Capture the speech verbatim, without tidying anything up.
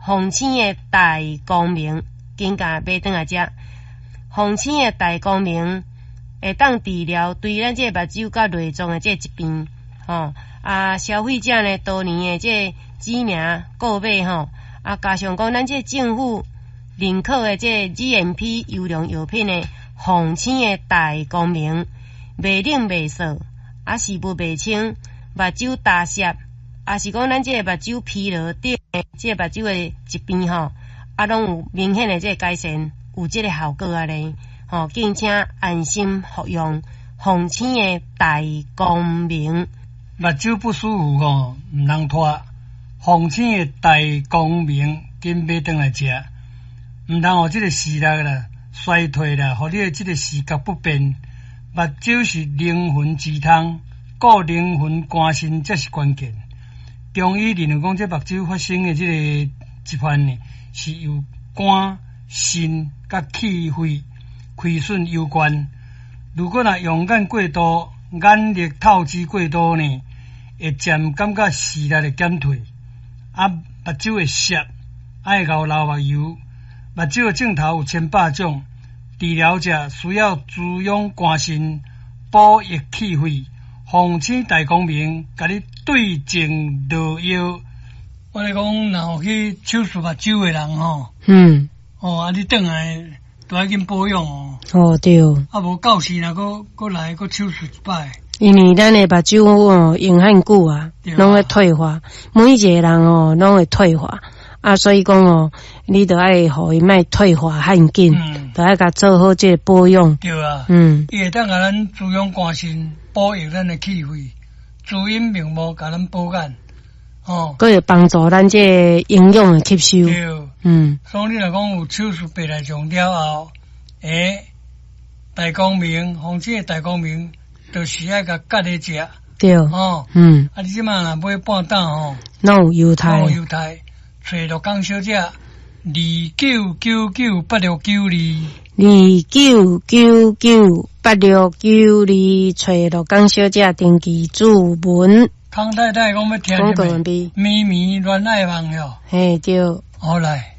鳳星的大光明，緊共買轉來食。鳳星的大光明會當治療對咱這個目睭佮內臟的這個疾病，吼啊，消費者呢多年的這個指名購買吼，啊，加上講咱這個政府認可的這個 G M P 優良藥品的鳳星的大光明，袂冷袂燥，啊，視物袂清，目睭焦澀，啊是講咱這個目睭疲勞等的這個目睭的疾病吼，啊，攏有明顯的這個改善，有這個效果按呢，吼，敬請安心服用鳳星的大光明。目睭不舒服吼，毋通拖。鳳星的大光明，緊買轉來食，毋通予這個視力啦衰退啦，予你的這個視覺不便。目睭是靈魂之窗，顧靈魂肝腎才是關鍵。中醫認為講，這目睭發生的這個疾患呢，是由肝、腎佮氣血虧損有關。如果若用眼過度，眼力透支過多呢，會漸感覺視力會減退，啊，目睭會澀，愛𠢕流目油。目睭的症頭有千百種，治療者需要滋養肝腎，補益氣血。鳳星大光明，共你對症落藥。我咧講，若有去手術目睭的人吼，嗯，哦，啊，你轉來都愛緊保養哦。哦對，啊，無到時若閣閣來閣手術一擺。因為咱的目睭哦用遐久啊，攏會退化，每一個人哦攏會退化，啊，所以講哦，你著愛予伊莫退化遐緊，著愛共做好這個保養。對啊，嗯，伊會當共咱滋養肝腎，補益咱的氣血，滋陰明目，共咱補眼，哦，閣會幫助咱這個營養的吸收。對，嗯，所以你若講有手術白內障了後，欸，大光明，鳳星的大光明，就是愛共結咧食。對，哦，嗯，啊，你這馬若買半擔吼，攏有優待，攏有優待，揣陸江小姐，二九九九八六九二，二九九九八六九二，揣陸江小姐登記注文。康太太講欲聽廣告完畢。綿綿戀愛夢喲，嘿對，好來。